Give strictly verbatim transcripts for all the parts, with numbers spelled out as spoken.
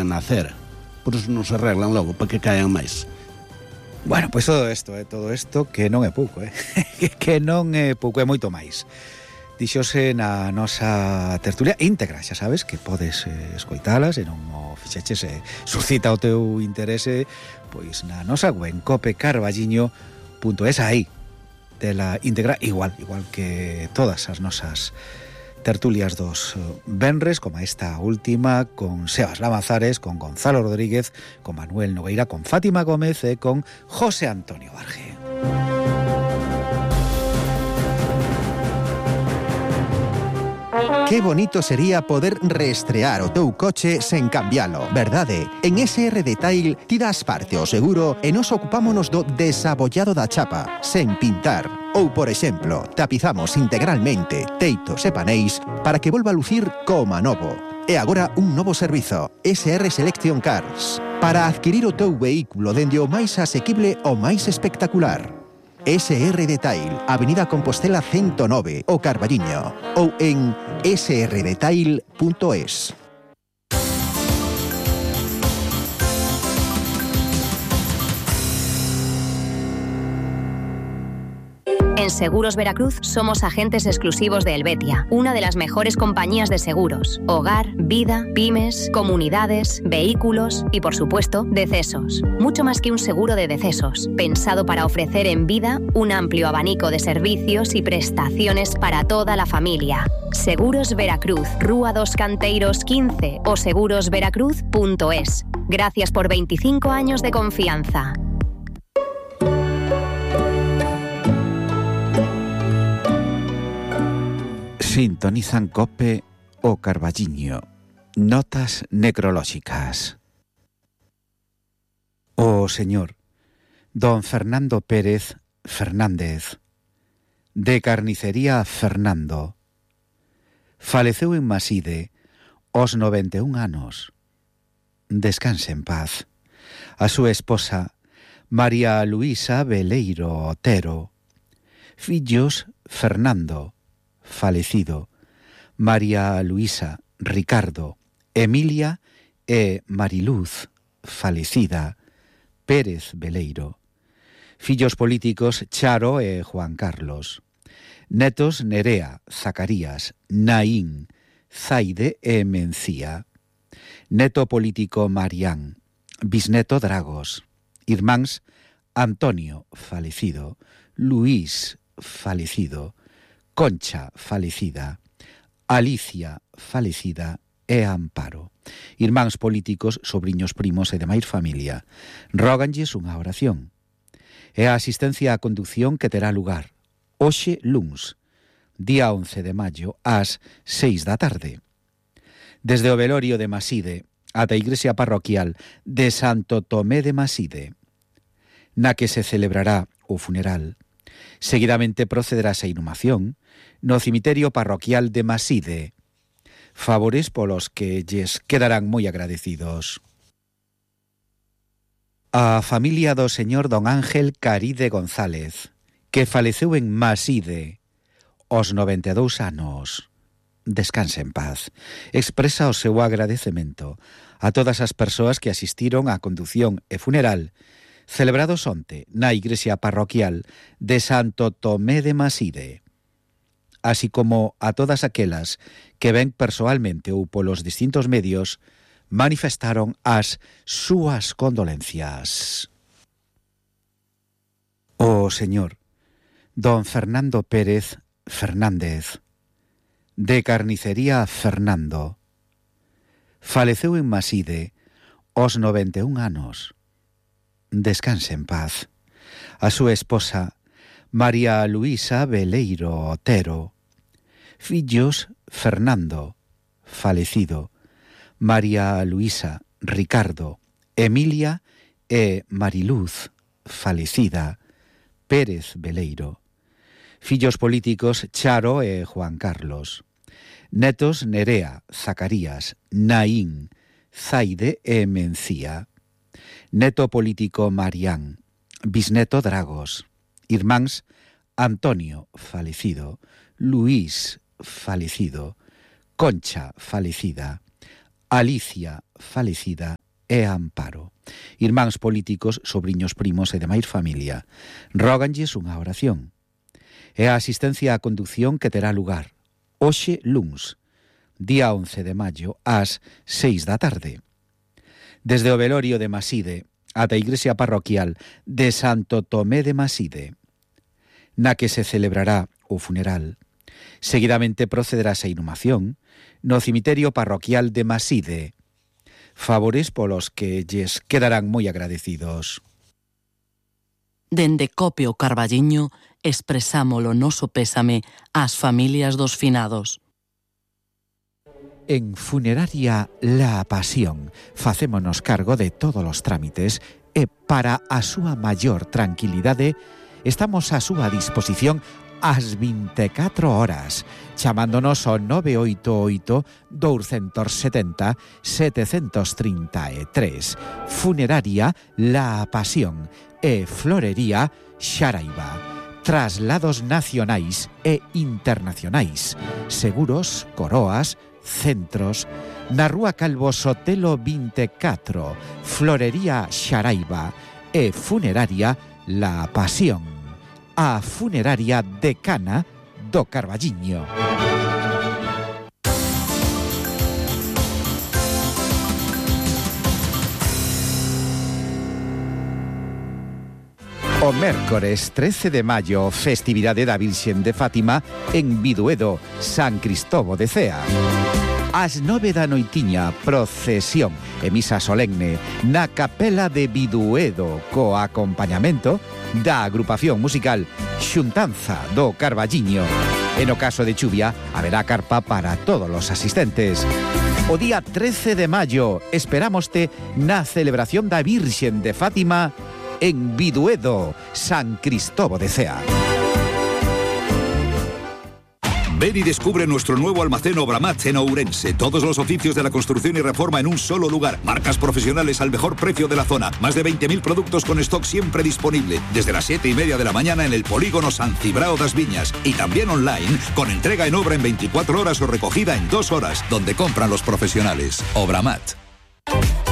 nacer. Por eso non se arreglan logo, para que caian máis. Bueno, pois todo isto, eh, todo isto que non é pouco, eh? que non é pouco, é moito máis. Dixose na nosa tertulia íntegra, xa sabes que podes eh, escoitalas e non o fixeches e eh, suscita o teu interese pois na nosa web cope carballiño punto es, aí tela íntegra igual, igual que todas as nosas tertulias dos venres, como esta última con Sebas Lamazares, con Gonzalo Rodríguez, con Manuel Nogueira, con Fátima Gómez e con José Antonio Barge. Qué bonito sería poder reestrear o teu coche sen cambialo, verdade? En S R Detail ti das parte ao seguro e nos ocupámonos do desabollado da chapa, sen pintar. Ou, por exemplo, tapizamos integralmente teitos e paneis para que volva a lucir coma novo. E agora un novo servizo, S R Selection Cars, para adquirir o teu vehículo dende o máis asequible ao máis espectacular. S R Detail, Avenida Compostela ciento nove, o Carballiño, ou en s r detail punto es. En Seguros Veracruz somos agentes exclusivos de Helvetia, una de las mejores compañías de seguros. Hogar, vida, pymes, comunidades, vehículos y, por supuesto, decesos. Mucho más que un seguro de decesos, pensado para ofrecer en vida un amplio abanico de servicios y prestaciones para toda la familia. Seguros Veracruz, Rúa dos Canteiros quince o seguros veracruz punto es. Gracias por veinticinco años de confianza. Sintonizan Cope o Carballiño. Notas necrolóxicas. O señor don Fernando Pérez Fernández, de Carnicería Fernando, faleceu en Maside aos noventa e un anos. Descanse en paz. A súa esposa María Luisa Veleiro Otero, fillos Fernando, falecido, María Luisa, Ricardo, Emilia e Mariluz, falecida, Pérez Veleiro. Fillos políticos Charo e Juan Carlos. Netos Nerea, Zacarías, Naín, Zaide e Mencía. Neto político Marián. Bisneto Dragos. Irmáns Antonio, falecido, Luís, falecido, Concha, falecida, Alicia, falecida e Amparo. Irmáns políticos, sobriños, primos e demais familia. Róganlles unha oración. E a asistencia á conducción que terá lugar hoxe luns, día once de maio, ás seis da tarde. Desde o velorio de Maside ata a igrexa parroquial de Santo Tomé de Maside, na que se celebrará o funeral. Seguidamente procederase a inhumación no cemiterio parroquial de Maside, favores polos que lles quedarán moi agradecidos. A familia do señor don Ángel Caride González, que faleceu en Maside aos noventa e dous anos. Descanse en paz. Expresa o seu agradecemento a todas as persoas que asistiron á condución e funeral celebrados onte na igrexa parroquial de Santo Tomé de Maside, así como a todas aquelas que ven persoalmente ou polos distintos medios manifestaron as súas condolencias. O señor don Fernando Pérez Fernández, de Carnicería Fernando, faleceu en Maside aos noventa e un anos. Descanse en paz. A súa esposa María Luisa Veleiro Otero, fillos Fernando, falecido, María Luisa, Ricardo, Emilia e Mariluz, falecida, Pérez Veleiro. Fillos políticos Charo e Juan Carlos. Netos Nerea, Zacarías, Naín, Zaide e Mencía. Neto político Marián. Bisneto Dragos. Irmáns Antonio, falecido, Luís, falecido, Concha, falecida, Alicia, falecida, e Amparo. Irmáns políticos, sobriños primos e demais familia. Róganlles unha oración. E a asistencia á conducción que terá lugar hoxe luns, día once de maio, ás seis da tarde. Desde o velorio de Maside ata a igrexa parroquial de Santo Tomé de Maside, na que se celebrará o funeral. Seguidamente procederá a inhumación no cemiterio parroquial de Maside. Favores polos que lles quedarán moi agradecidos. Dende Copio Carballiño expresamos o noso pésame ás familias dos finados. En Funeraria La Pasión facémonos cargo de todos os trámites e para a súa maior tranquilidade estamos á súa disposición ás vinte e catro horas, chamándonos ao nove oito oito, dous sete zero, sete tres tres. Funeraria La Pasión e Florería Xaraiba. Traslados nacionais e internacionais. Seguros, coroas, centros. Na Rúa Calvo Sotelo vinte e catro, Florería Xaraiba e Funeraria La Pasión. A funeraria decana do Carballiño. O mércores trece de maio, festividade da Virxen de Fátima en Biduedo, San Cristobo de Cea. Ás nove da noitiña, procesión e misa solemne na capela de Biduedo co acompañamento da agrupación musical Xuntanza do Carballiño. E no caso de chuvia, haberá carpa para todos os asistentes. O día trece de maio esperámoste na celebración da Virxen de Fátima en Biduedo, San Cristobo de Cea. Ven y descubre nuestro nuevo almacén Obramat en Ourense. Todos los oficios de la construcción y reforma en un solo lugar. Marcas profesionales al mejor precio de la zona. Más de veinte mil productos con stock siempre disponible. Desde las siete y media de la mañana en el polígono San Cibrao das Viñas. Y también online, con entrega en obra en veinticuatro horas o recogida en dos horas. Donde compran los profesionales. Obramat.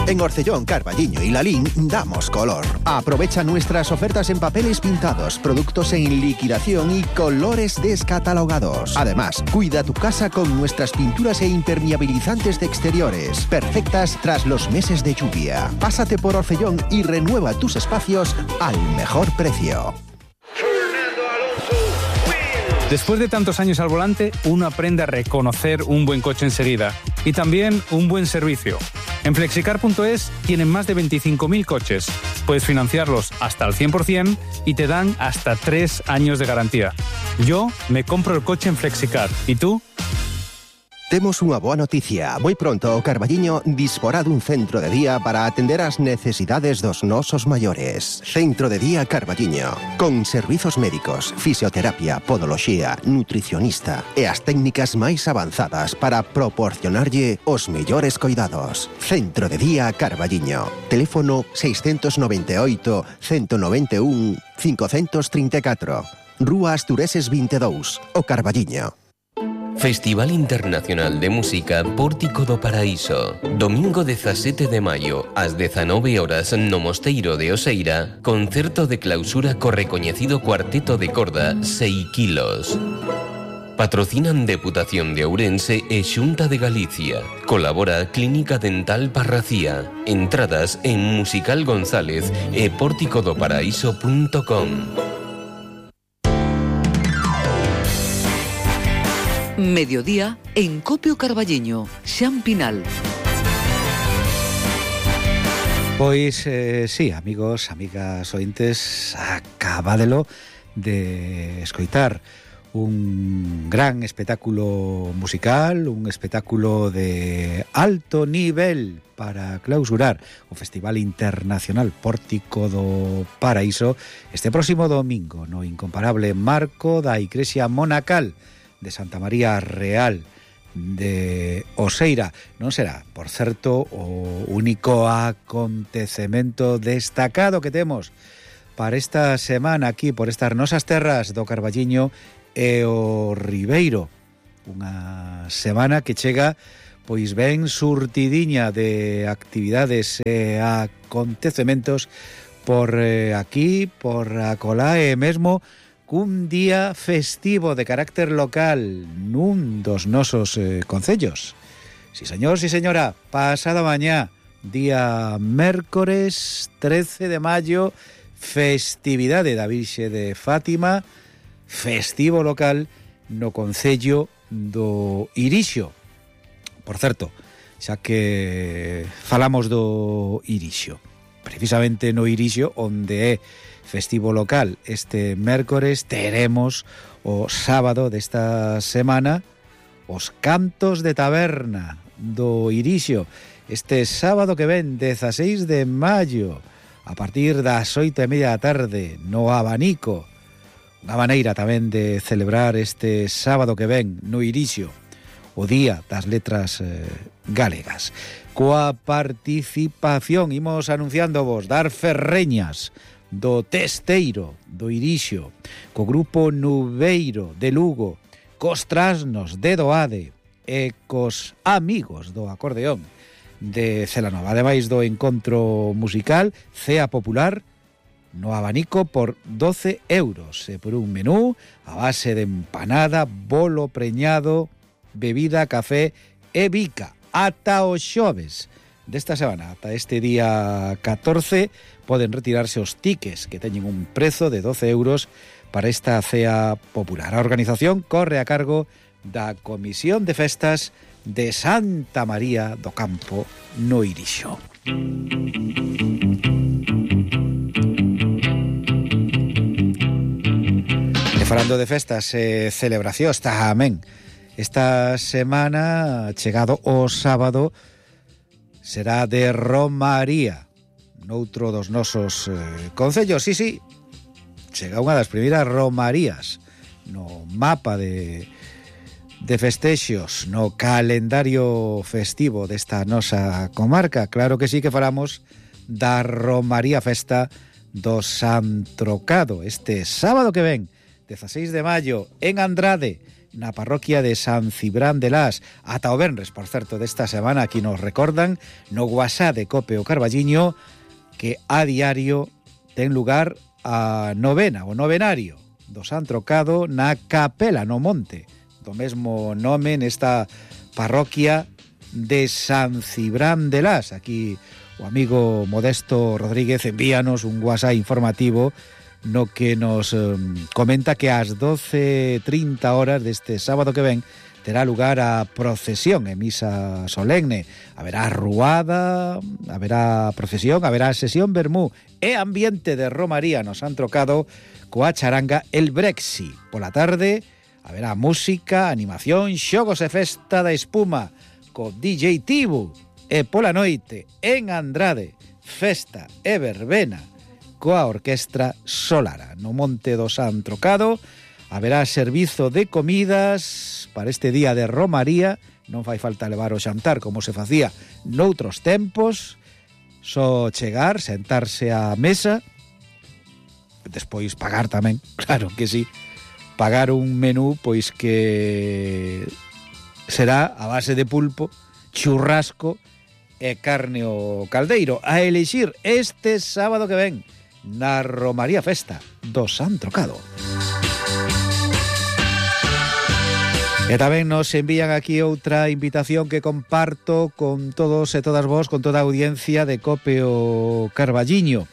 En Orcellón, Carballiño y Lalín damos color. Aprovecha nuestras ofertas en papeles pintados, productos en liquidación y colores descatalogados. Además, cuida tu casa con nuestras pinturas e impermeabilizantes de exteriores, perfectas tras los meses de lluvia. Pásate por Orcellón y renueva tus espacios al mejor precio. Después de tantos años al volante, uno aprende a reconocer un buen coche enseguida y también un buen servicio. En flexicar punto es tienen más de veinticinco mil coches. Puedes financiarlos hasta el cien por ciento y te dan hasta tres años de garantía. Yo me compro el coche en Flexicar. ¿Y tú? Temos unha boa noticia. Moi pronto o Carballiño disporá dun centro de día para atender as necesidades dos nosos maiores. Centro de día Carballiño, con servizos médicos, fisioterapia, podoloxía, nutricionista e as técnicas máis avanzadas para proporcionarlle os mellores coidados. Centro de día Carballiño. Teléfono seiscentos noventa e oito, ciento noventa e un, quinhentos trinta e catro. Rúa Astureses vinte e dous, o Carballiño. Festival Internacional de Música Pórtico do Paraíso. Domingo dezasete de maio, ás dezanove horas, no Mosteiro de Oseira, concerto de clausura co recoñecido cuarteto de corda Seiquilos. Patrocinan Deputación de Ourense e Xunta de Galicia. Colabora Clínica Dental Parracía. Entradas en Musical González e pórtico do paraíso punto com. Mediodía en Copio Carballiño, Xan Pinal. Pois, eh, sí, amigos, amigas ointes, acabádelo de escoitar un gran espectáculo musical, un espectáculo de alto nivel para clausurar o Festival Internacional Pórtico do Paraíso este próximo domingo no incomparable marco da Igrexa Monacal de Santa María Real de Oseira. Non será, por certo, o único acontecemento destacado que temos para esta semana aquí por estas nosas terras do Carballiño e o Ribeiro. Unha semana que chega pois ben surtidiña de actividades e acontecementos por eh, aquí, por acolá e mesmo cun día festivo de carácter local nun dos nosos eh, concellos. Si señor, si señora, pasada mañá, día mércores trece de maio, festividade da Virxe de Fátima, festivo local no concello do Irixo. Por certo, xa que falamos do Irixo, precisamente no Irixo, onde é festivo local este mércores, teremos o sábado desta semana os cantos de taberna do Irixo, este sábado que ven, dezaseis de maio, a partir das oito e media da tarde, no Abanico. Unha maneira tamén de celebrar este sábado que ven no Irixo, o Día das Letras eh, Galegas. Coa participación, imos anunciando vos, dar ferreñas do Testeiro, do Irixo, co grupo Nubeiro de Lugo, cos trasnos de Doade e cos amigos do acordeón de Celanova. Ademais do encontro musical Cea Popular no Abanico por doce euros e por un menú a base de empanada, bolo preñado, bebida, café e bica. Ata o xoves desta semana, ata este día catorce, poden retirarse os tiques que teñen un prezo de doce euros para esta cea popular. A organización corre a cargo da Comisión de Festas de Santa María do Campo no Irixo. E falando de festas e celebracións tamén, esta semana, chegado o sábado, será de Romaría noutro dos nosos eh, concellos. Sí, sí, chega unha das primeiras romarías no mapa de, de festexos, no calendario festivo desta nosa comarca. Claro que sí que falamos da Romaría Festa do San Trocado, este sábado que ven, dezaseis de maio, en Andrade, na parroquia de San Cibrán de Las. Ata o venres, por certo, desta semana, aquí nos recordan no WhatsApp de Cope o Carballiño que a diario ten lugar a novena, o novenario do San Trocado na Capela, no Monte, do mesmo nome, nesta parroquia de San Cibrán de Las. Aquí o amigo Modesto Rodríguez envíanos un WhatsApp informativo no que nos eh, comenta que ás doce e trinta horas deste sábado que ven terá lugar a procesión e misa solemne. Haberá ruada, haberá procesión, haberá sesión vermú e ambiente de romaría no San Trocado coa charanga El Brexi. Pola tarde haberá música, animación, xogos e festa da espuma co D J Tibu. E pola noite en Andrade, festa e verbena coa orquestra Solara. No Monte do San Trocado haberá servizo de comidas para este día de romaría. Non fai falta levar o xantar como se facía noutros tempos, só chegar, sentarse á mesa, despois pagar tamén, claro que sí, pagar un menú pois que será a base de pulpo, churrasco e carne ao caldeiro, a elixir este sábado que ven na Romaría Festa do San Trocado. E tamén nos envían aquí outra invitación que comparto con todos e todas vos, con toda a audiencia de Cope o Carballiño,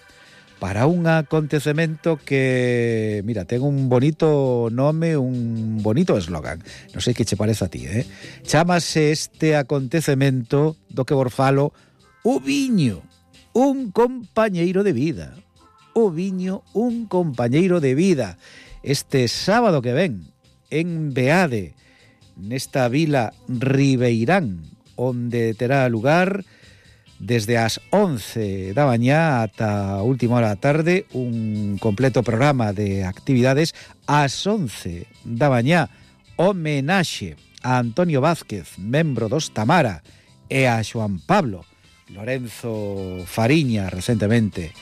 para un acontecemento que, mira, ten un bonito nome, un bonito eslogan. Non sei que che parece a ti, eh? Chámase este acontecemento do que vos falo o viño, un compañeiro de vida. O viño, un compañeiro de vida. Este sábado que ven, en Beade, nesta vila Ribeirán, onde terá lugar desde as once da mañá ata a última hora da tarde un completo programa de actividades. Ás once da mañá, homenaxe a Antonio Vázquez, membro dos Tamara, e a Xoan Pablo Lorenzo Fariña, recentemente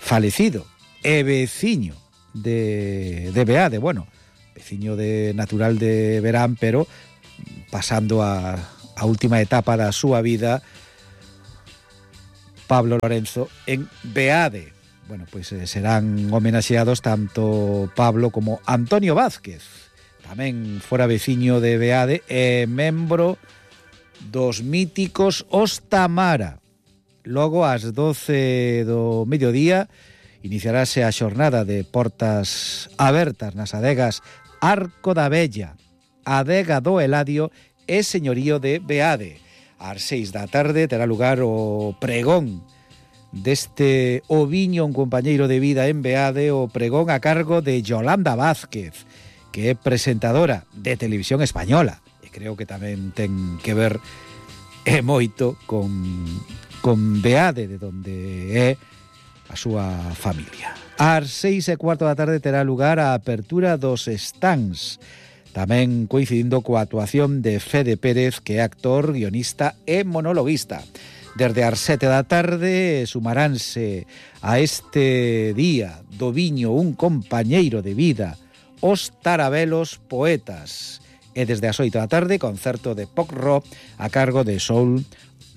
falecido, e veciño de, de Beade, bueno, veciño de natural de Verán, pero pasando a, a última etapa da súa vida, Pablo Lorenzo, en Beade. Bueno, pois eh, serán homenaxeados tanto Pablo como Antonio Vázquez, tamén fora veciño de Beade e membro dos míticos Os Tamara. Logo, ás doce do mediodía, iniciarase a xornada de portas abertas nas adegas Arco da Vella, Adega do Eladio e Señorío de Beade. Ás seis da tarde terá lugar o pregón deste Oviño, un compañeiro de vida en Beade, o pregón a cargo de Yolanda Vázquez, que é presentadora de Televisión Española, e creo que tamén ten que ver e moito con, con Beade, de donde é a súa familia. Ás seis e cuarto da tarde terá lugar a apertura dos stands, tamén coincidindo coa actuación de Fede Pérez, que é actor, guionista e monologuista. Desde as sete da tarde sumaránse a este día do viño un compañeiro de vida, os Tarabelos Poetas. E desde as oito da tarde, concerto de pop rock a cargo de Soul,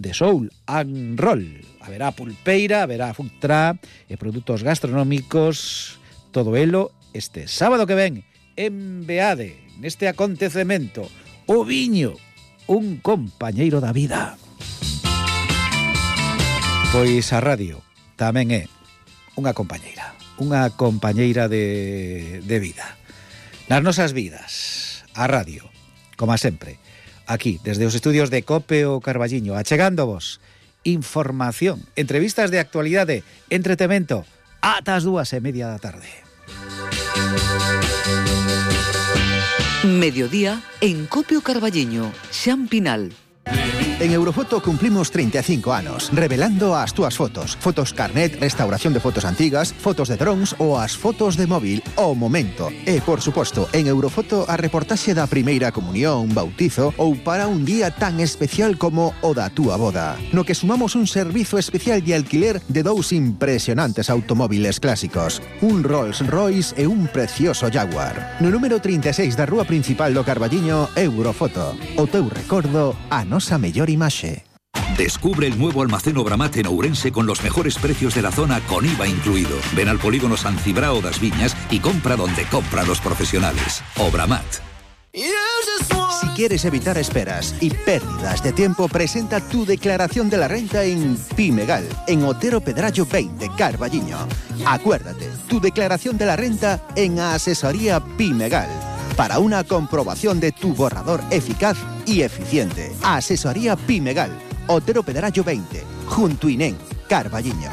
de Soul and Roll. Haberá pulpeira, haberá food truck e produtos gastronómicos, todo elo este sábado que ven en Beade, neste acontecemento, o viño, un compañeiro da vida. Pois a radio tamén é unha compañeira, unha compañeira de, de vida. Nas nosas vidas, a radio, como sempre, aquí, desde os estudios de COPE o Carballiño, achegándovos información, entrevistas de actualidade, entretemento, ata as dúas e media da tarde. Mediodía en Copio Carballiño, Xampinal. En Eurofoto cumplimos treinta e cinco anos, revelando as túas fotos. Fotos carnet, restauración de fotos antigas, fotos de drones ou as fotos de móvil ao momento. E, por suposto, en Eurofoto a reportaxe da primeira comunión, bautizo ou para un día tan especial como o da túa boda. No que sumamos un servizo especial de alquiler de dous impresionantes automóviles clásicos. Un Rolls Royce e un precioso Jaguar. No número trinta e seis da rúa principal do Carballiño, Eurofoto. O teu recordo, a nosa mellor imaxe. Descubre el nuevo almacén Obramat en Ourense con los mejores precios de la zona con I V A incluido. Ven al polígono San Cibrao das Viñas y compra donde compran los profesionales. Obramat. Si quieres evitar esperas y pérdidas de tiempo, presenta tu declaración de la renta en Pimegal, en Otero Pedrallo veinte, Carballiño. Acuérdate, tu declaración de la renta en Asesoría Pimegal, para una comprobación de tu borrador eficaz y eficiente. Asesoría Pimegal, Otero Pedrallo veinte, junto Inén, Carballiño.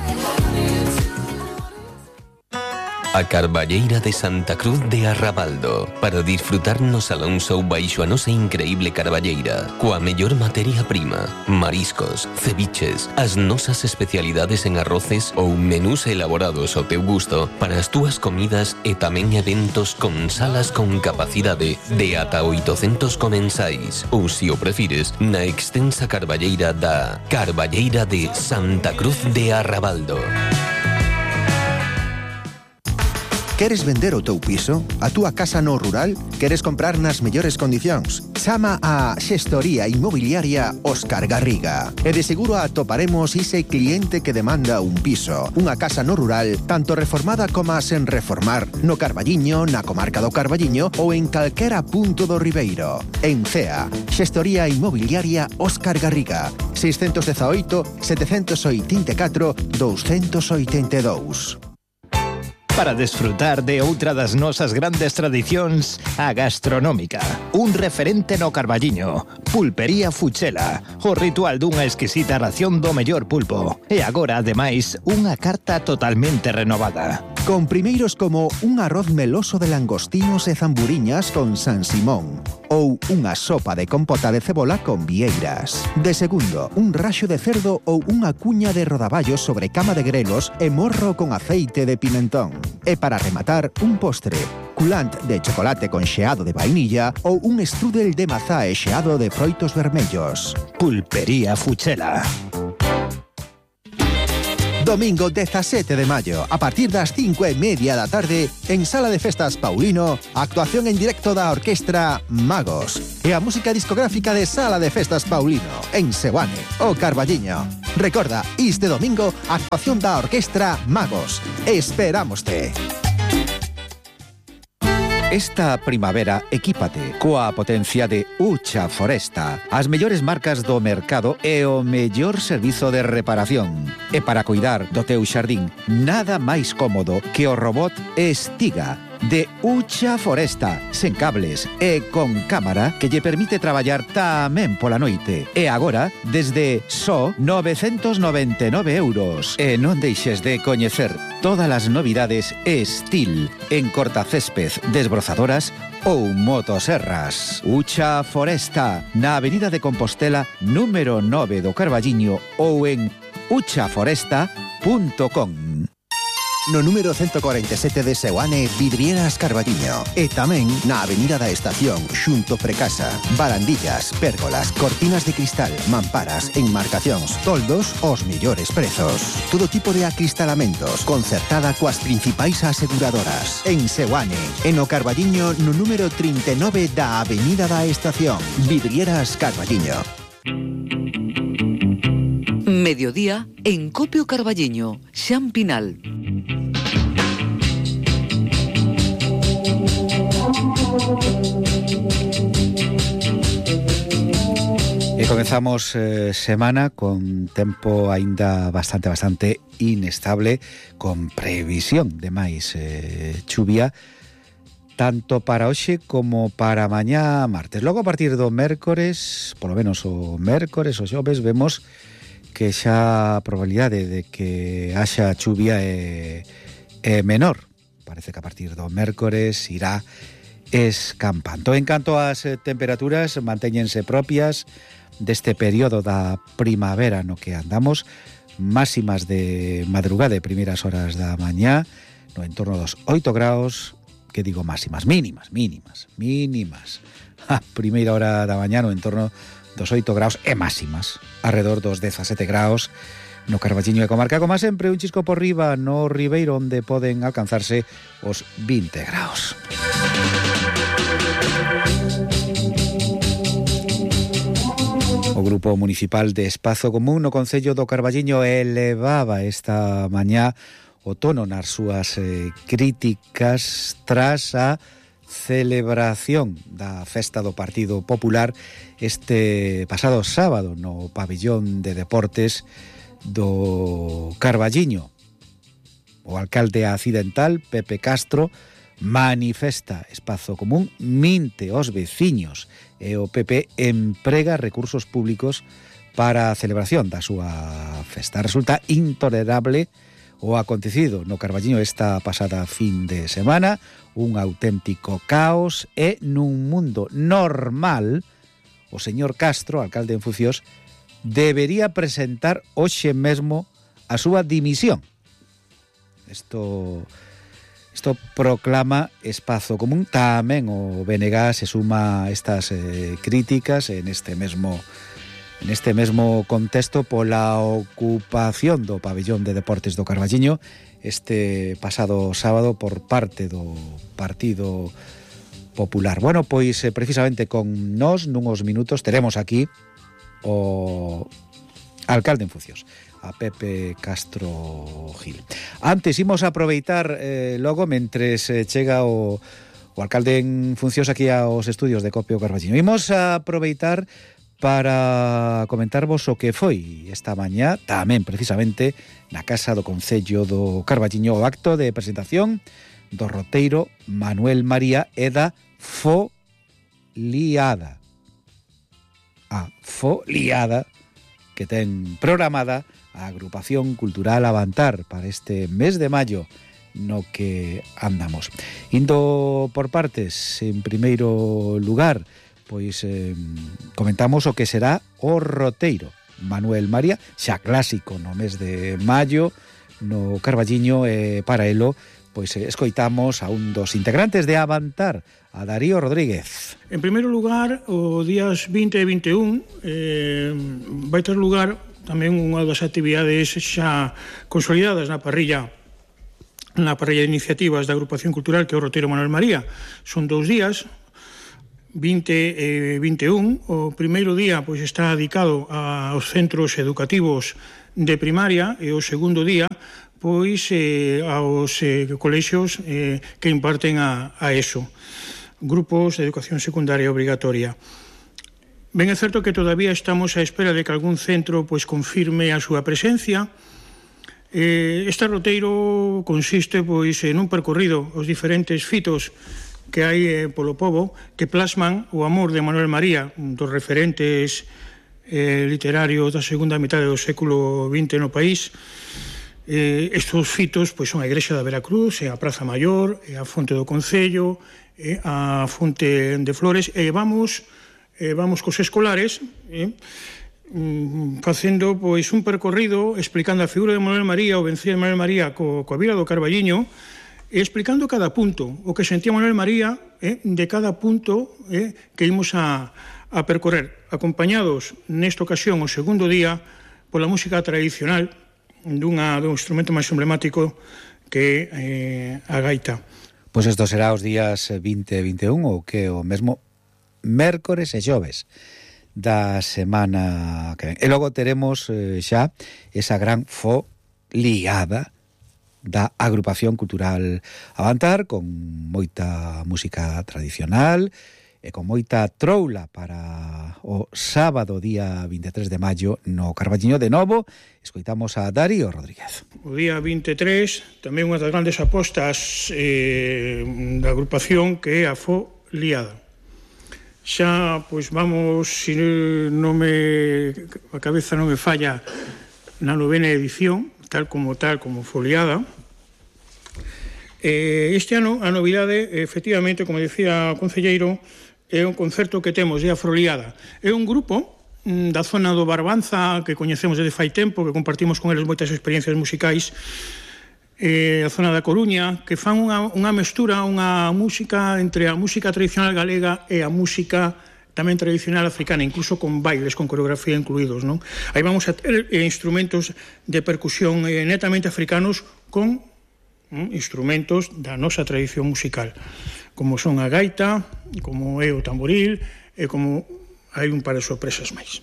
A Carballeira de Santa Cruz de Arrabaldo, para disfrutar no Salón Show baixo a nosa increíble carballeira, coa mellor materia prima, mariscos, ceviches, as nosas especialidades en arroces ou menús elaborados ao teu gusto para as túas comidas e tamén eventos con salas con capacidade de ata oitocentos comensais, ou, se o prefires, na extensa carballeira da Carballeira de Santa Cruz de Arrabaldo. Queres vender o teu piso? A túa casa no rural? Queres comprar nas mellores condicións? Chama a Xestoría Inmobiliaria Óscar Garriga. E de seguro atoparemos ese cliente que demanda un piso, unha casa no rural, tanto reformada como sen reformar, no Carballiño, na comarca do Carballiño ou en calquera punto do Ribeiro. En Cea, Xestoría Inmobiliaria Óscar Garriga, seiscentos dezaoito, setecentos oitenta e catro, douscentos oitenta e dous. Para desfrutar de outra das nosas grandes tradicións, a gastronómica. Un referente no Carballiño, Pulpería Fuchela, o ritual dunha exquisita ración do mellor pulpo. E agora, ademais, unha carta totalmente renovada. Con primeiros como un arroz meloso de langostinos e zamburiñas con San Simón, ou unha sopa de compota de cebola con vieiras. De segundo, un raxo de cerdo ou unha cuña de rodaballos sobre cama de grelos e morro con aceite de pimentón. E para rematar, un postre, culant de chocolate con xeado de vainilla ou un strudel de mazá e xeado de froitos vermellos. Pulpería Fuchela. Domingo dezasete de maio, a partir das cinco e media da tarde, en Sala de Festas Paulino, actuación en directo da orquestra Magos. e a música discográfica de Sala de Festas Paulino, en Seoane, o Carballiño. Recorda, este domingo, a actuación da Orquestra Magos. Esperámoste. Esta primavera, equípate coa potencia de Ucha Foresta, as mellores marcas do mercado e o mellor servizo de reparación. E para cuidar do teu xardín, nada máis cómodo que o robot Estiga de Ucha Foresta, sen cables e con cámara que lle permite traballar tamén pola noite. E agora, desde só novecentos noventa e nove euros. E non deixes de coñecer todas as novidades Estil en cortacésped, desbrozadoras ou motoserras. Ucha Foresta, na Avenida de Compostela, número nove do Carballiño ou en ucha foresta punto com. No número ciento cuarenta y siete de Seoane, Vidrieras Carballiño. E tamén na Avenida da Estación, xunto Precasa. Barandillas, pérgolas, cortinas de cristal, mamparas, enmarcacións, toldos, os millores prezos. Todo tipo de acristalamentos, concertada coas principais aseguradoras. En Seoane, en o Carballiño, no número trinta e nove da Avenida da Estación. Vidrieras Carballiño. Mediodía en Copio Carballiño, Xan Pinal. E comezamos eh, semana con tempo aínda bastante, bastante inestable, con previsión de máis eh, chuvia, tanto para hoxe como para mañá martes. Logo a partir do mércores, polo menos o mércores, o xoves, vemos que xa a probabilidade de que haxa chuvia é, é menor. Parece que a partir do mércores irá escampando. En canto ás temperaturas, mantéñense propias deste período da primavera no que andamos, máximas de madrugada e primeiras horas da mañá, no entorno dos oito graus, que digo máximas, mínimas, mínimas, mínimas. A primeira hora da mañá no entorno dos oito graus e máximas, alrededor dos dezasete graus no Carballiño e comarca, como sempre, un chisco por riba no Ribeiro, onde poden alcanzarse os vinte graus. O Grupo Municipal de Espazo Común no Concello do Carballiño elevaba esta mañá o tono nas súas eh, críticas tras a celebración da festa do Partido Popular este pasado sábado no pabillón de deportes do Carballiño. O alcalde accidental, Pepe Castro, manifesta Espazo Común, minte os veciños e o P P emprega recursos públicos para a celebración da súa festa. Resulta intolerable o acontecido no Carballiño esta pasada fin de semana, un auténtico caos, e nun mundo normal o señor Castro, alcalde en funcións, debería presentar hoxe mesmo a súa dimisión. Isto Isto proclama Espazo Común. Tamén o B N G se suma a estas eh, críticas en este mesmo en este mesmo contexto pola ocupación do pabillón de deportes do Carballiño este pasado sábado por parte do Partido Popular. Bueno, pois eh, precisamente con nós nunhos minutos teremos aquí o alcalde en funcións, a Pepe Castro Gil. Antes, imos aproveitar eh, logo, mentres eh, chega o, o alcalde en funcións aquí aos estudios de Copio Carballiño. Imos a aproveitar para comentarvos o que foi esta mañá, tamén precisamente na Casa do Concello do Carballiño, o acto de presentación do roteiro Manuel María e da Foliada. A Foliada que ten programada a Agrupación Cultural Avantar para este mes de maio no que andamos. Indo por partes, en primeiro lugar, pois eh, comentamos o que será o roteiro Manuel María, xa clásico no mes de maio no Carballiño, e para elo pois eh, escoitamos a un dos integrantes de Avantar, a Darío Rodríguez. En primeiro lugar, o días vinte e vinte e un eh, vai ter lugar tamén unha das actividades xa consolidadas na parrilla na parrilla de iniciativas da Agrupación Cultural, que é o roteiro Manuel María. Son dous días, vinte e vinte e un. O primeiro día pois está dedicado aos centros educativos de primaria e o segundo día pois eh, aos eh, colexios eh, que imparten a, a ESO, grupos de educación secundaria obrigatoria. Ben é certo que todavía estamos á espera de que algún centro pois confirme a súa presencia. Eh, este roteiro consiste pois en un percorrido aos diferentes fitos que hai eh, polo pobo que plasman o amor de Manuel María, dos referentes eh, literarios da segunda metade do século vinte no país. Eh, estes fitos pois son a Igrexa da Veracruz, e a Praza Maior, e a Fonte do Concello, e a Fonte de Flores, e vamos eh, vamos cos escolares eh, facendo pois un percorrido explicando a figura de Manuel María, o vencido de Manuel María co, coa Vila do Carballiño, e explicando cada punto, o que sentía Manuel María eh, de cada punto eh, que imos a, a percorrer, acompañados nesta ocasión o segundo día pola música tradicional dunha, dun instrumento máis emblemático que é eh, a gaita. Pois isto será os días vinte e vinte e un, ou que o mesmo mércores e xoves da semana que ven. E logo teremos eh, xa esa gran foliada da Agrupación Cultural Avantar, con moita música tradicional e con moita troula para o sábado día vinte e tres de maio no Carballiño. De novo, escoitamos a Darío Rodríguez. O día vinte e tres, tamén unha das grandes apostas eh, da agrupación, que é a foliada. Xa, pois vamos, se non me, a cabeza non me falla, na novena edición, tal como tal, como foliada. Eh, este ano, a novidade, efectivamente, como decía o concelleiro, é un concerto que temos, é a foliada. É un grupo mm, da zona do Barbanza, que coñecemos desde fai tempo, que compartimos con eles moitas experiencias musicais, eh, a zona da Coruña, que fan unha, unha mestura, unha música entre a música tradicional galega e a música tamén tradicional africana, incluso con bailes, con coreografía incluídos, non? Aí vamos a ter eh, instrumentos de percusión eh, netamente africanos con mm, instrumentos da nosa tradición musical, como son a gaita, como é o tamboril, e como hai un par de sorpresas máis.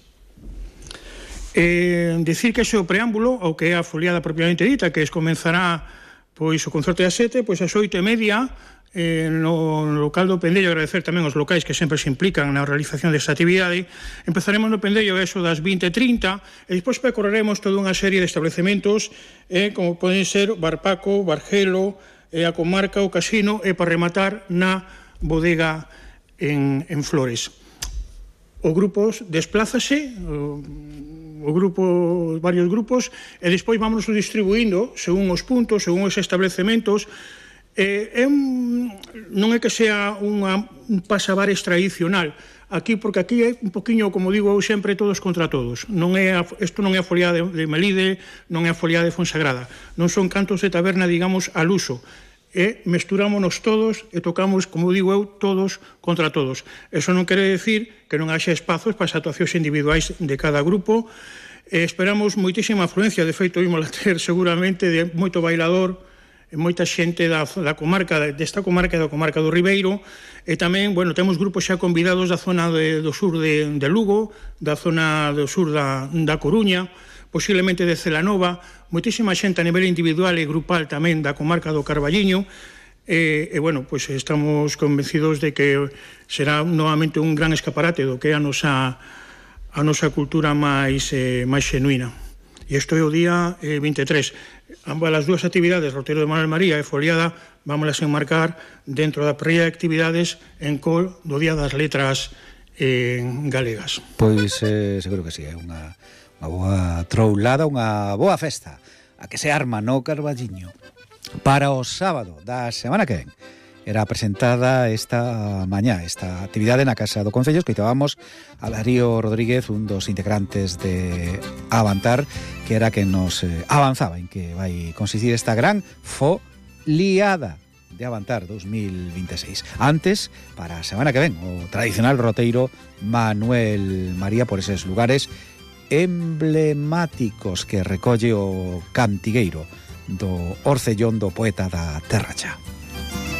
Eh, decir que ese é o preámbulo ao que é a foliada propiamente dita, que es comenzará pois o concerto das sete, pois as oito e media eh, no local do Pendello. Agradecer tamén aos locais que sempre se implican na realización desta actividade. Empezaremos no Pendello eso das vinte e trinta, e despois percorreremos toda unha serie de establecementos eh, como poden ser Barpaco, Bargelo, eh, a comarca, o Casino, e para rematar na bodega en, en Flores. O grupos desplázase, o, o grupo, varios grupos, e despois vámonos distribuindo según os puntos, según os establecementos. Eh, é un, non é que sea unha, un pasabares tradicional aquí, porque aquí é un poquinho, como digo eu sempre, todos contra todos. Non é a, isto non é a foliada de, de Melide, non é a foliada de Fonsagrada, non son cantos de taberna, digamos, al uso. E mesturámonos todos e tocamos, como digo eu, todos contra todos. Eso non quere decir que non haxa espazos para as actuacións individuais de cada grupo. E esperamos moitísima afluencia, de feito, imos a ter seguramente de moito bailador e moita xente da, da comarca, desta comarca e da comarca do Ribeiro, e tamén, bueno, temos grupos xa convidados da zona de, do sur de, de Lugo, da zona do sur da, da Coruña, posiblemente de Celanova, moitísima xente a nivel individual e grupal tamén da comarca do Carballiño, e, e bueno, pois estamos convencidos de que será novamente un gran escaparate do que é a nosa, a nosa cultura máis, eh, máis xenuína. E isto é o día eh, vinte e tres. Ambas as dúas actividades, roteiro de Manuel María e foliada, vámolas enmarcar dentro da previa de actividades en col do Día das Letras eh, Galegas. Pois eh, seguro que sí, é unha unha boa troulada, unha boa festa a que se arma no Carballiño para o sábado da semana que ven. Era presentada esta mañá esta actividade na Casa do Concello. Escoitábamos a Darío Rodríguez, un dos integrantes de Avantar, que era que nos eh, avanzaba en que vai consistir esta gran foliada de Avantar dos mil vinte e seis. Antes, para a semana que ven, o tradicional roteiro Manuel María por eses lugares emblemáticos que recolle o cantigueiro do Orcellón do poeta da Terra Cha.